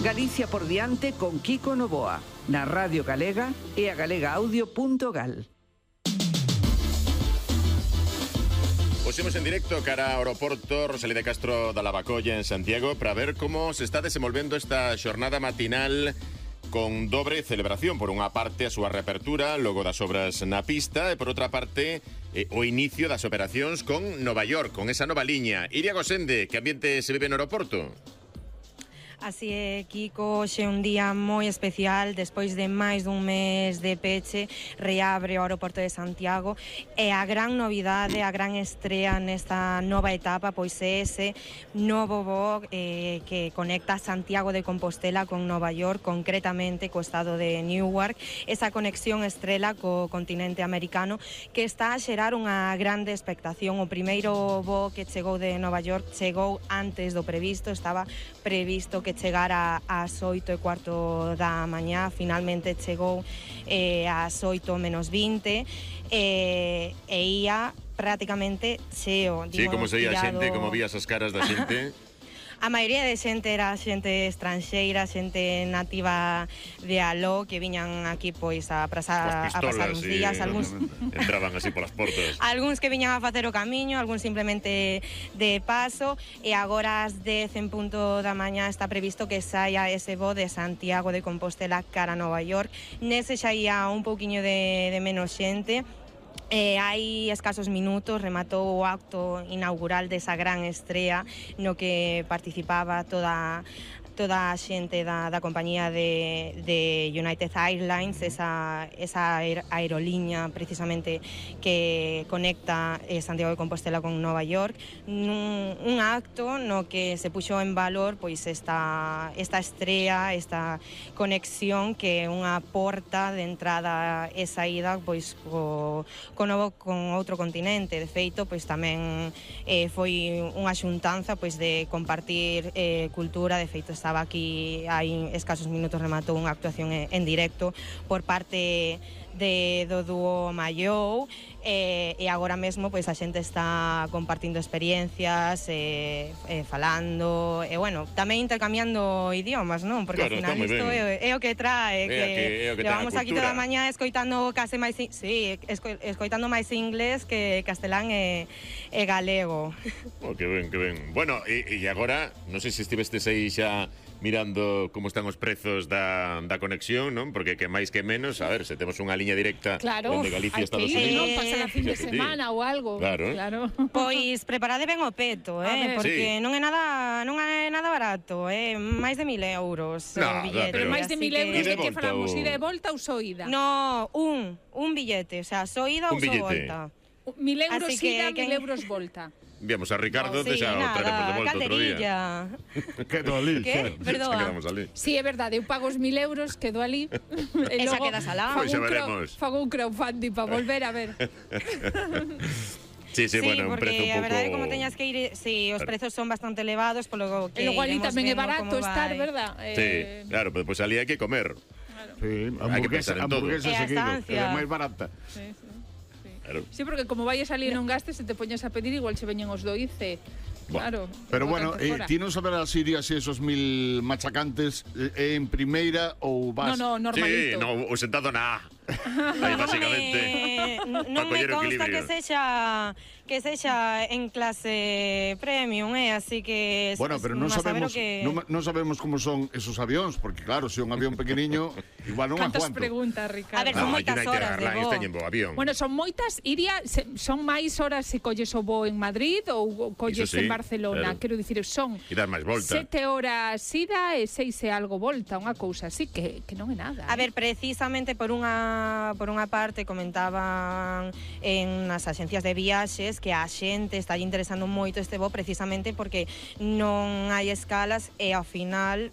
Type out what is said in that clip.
Galicia por diante con Kiko Novoa, na Radio Galega e a galegaaudio.gal. Pusimos en directo cara ao aeroporto Rosalía de Castro da Lavacolla en Santiago para ver como se está desenvolvendo esta xornada matinal con dobre celebración. Por unha parte a súa reapertura logo das obras na pista e por outra parte o inicio das operacións con Nova York, con esa nova liña. Iria Gosende, que ambiente se vive no aeroporto? Así é, Kiko, xe un día moi especial. Despois de máis dun mes de peche, reabre o aeroporto de Santiago e a gran novidade, a gran estrea nesta nova etapa, pois é ese novo voo que conecta Santiago de Compostela con Nova York, concretamente co estado de Newark, esa conexión estrela co continente americano que está a xerar unha grande expectación. O primeiro voo que chegou de Nova York chegou antes do previsto, estaba previsto que chegara ás 8:15 da mañá, finalmente chegou ás 8 menos 20 e ia prácticamente cheo. Sí, como se ia a xente, como vías as caras da xente. A maioría de xente era xente estranxeira, xente nativa de Aló, que viñan aquí pois a pasar uns días, algúns entraban así polas portas. Algúns que viñan a facer o camiño, algúns simplemente de paso, e agora ás 10 en punto da mañá está previsto que saia ese voo de Santiago de Compostela cara a Nova York. Nese xa ia un pouquiño de menos xente. Hai escasos minutos rematou o acto inaugural desa gran estrea no que participaba toda a xente da compañía de United Airlines, esa aerolínea precisamente que conecta Santiago de Compostela con Nova York, un acto no que se puxo en valor pois esta estrea, esta conexión que é unha porta de entrada e saída pois con outro continente. De feito, pois tamén foi unha xuntanza pois de compartir cultura. De feito, estaba aquí hai escasos minutos, rematou unha actuación en directo por parte do dúo Mayou, e agora mesmo pois a xente está compartindo experiencias, falando, e bueno, tamén intercambiando idiomas, non? Porque claro, ao final isto é o que trae, que levamos aquí toda a mañá escoitando case máis, escoitando máis inglés que castelán e galego. Oh, que ben, que ben. Bueno, e agora, non sei se estivestes aí xa mirando como están os prezos da conexión, non? Porque que máis que menos, a ver, se temos unha liña directa onde Galicia e Estados Unidos, pasar a fin de semana ou algo. Claro. Pois preparade ben o peto, porque non é nada barato, máis de 1.000 euros o billete. Pero máis de 1.000 euros de que falamos, ida e volta ou só ida? No, un billete, o sea, só ida ou só volta. 1.000 euros ida, 1.000 euros volta. Enviamos a Ricardo, xa o traemos de volta outro día. Quedo ali. Que? Perdoa. Quedamos ali. Sí, é verdade, eu pago os 1.000 euros, quedo ali. E xa quedas alá. Pois xa veremos. Fago un crowdfunding para volver a ver. Sí, bueno, un prezo un pouco... a verdade, como teñas que ir, os prezos son bastante elevados, polo que e logo ali tamén é barato estar, verdad? Sí, claro, pero pois ali hai que comer. Sí, hamburguesa seguido, é máis barata. Sí. Claro. Sí, porque como vai a salir non gastes, se te poñes a pedir, igual se veñen os doice. Claro. Pero bueno, ti non saberás se irías esos 1.000 machacantes en primeira ou vas... No, normalito. Sí, no, o sentado na aí basicamente non me consta que sexa en clase premium, así que bueno, pero non sabemos como son esos avións, porque claro, se un avión pequeniño igual non aguanto. Cantas preguntas, Ricardo? A ver, son moitas horas de voo. Bueno, son moitas, son máis horas se colles o voo en Madrid ou colles en Barcelona, quero dicir, son 7 horas ida e 6 e algo volta, unha cousa así que non é nada. A ver, precisamente por unha parte comentaban en as axencias de viaxes que a xente está interesando moito este voo precisamente porque non hai escalas e ao final